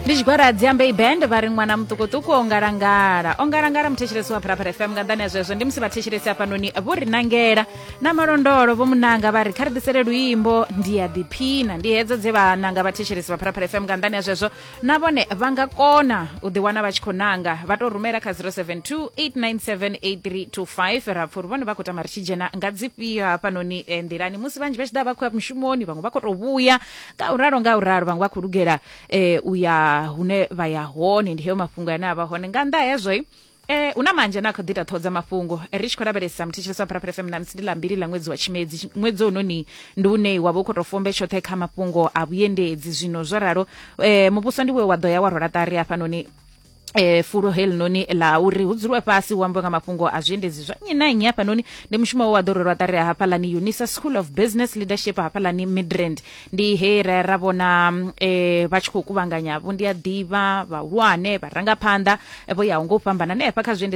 Ndi tshigwada Dziambei Band vha ri ṅwana muṱukuṱuku o ngalangala, o ngalangala. Muthetshelesi wa Phalaphala FM, nga nḓani ya zwezwo ndi musi vhathetshelesi hafhanoni vho ri nangela na malondolo, vho munanga vha ri kha ri ḓisele luimbo ndi ya ḓiphina. Ndi hedzo dze vha nanga vhathetshelesi vha Phalaphala FM. Nga nḓani ya zwezwo na vhone vha nga kona u ḓiwana vha tshi khou nanga, vha tou rumela kha 072 897 8325, ra pfa uri vhone vha khou tama ri tshi dzhena nga dzifhio hafhanoni nḓilani musi vhanzhi vha tshi ḓa vha khou ya mushumoni, vhaṅwe vha khou tou vhuya nga u ralo nga u ralo, vhaṅwe vha khou lugela u ya hune vha ya hone. Ndi heyo mafhungo ane a vha hone. Nga nnḓa hezwo, hu na manzhi ane a khou ḓi ita ṱhoho dza mafhungo. Ri tshi khou lavhelesa, muthetshelesi wa Phalaphala FM, ṋamusi ndi ḽa mbili ḽa ṅwedzi wa Tshimedzi. Ṅwedzi hounoni ndi une wa vha u khou tou fombe tshoṱhe kha mafhungo a vhuendedzi. Zwino zwo ralo, muvhuso ndi we wa ḓo ya wa rwela ṱari hafhanoni fulo helinoni ḽa uri hu dzuliwe fhasi hu ambiwe nga mafhungo a zwiendedzi zwa nnyi na nnyi hafhanoni. Ndi mushumo we wa ḓo rwelwa ṱari hafhaḽani Unisa School of Business Leadership hafhaḽani Midrand. Ndi he ra ra vhona vha tshi khou kuvhanganya vho ndi a ḓivha vhahulwane vharangaphanḓa vho yaho nga u fhambana hanefha kha zwiendedzi.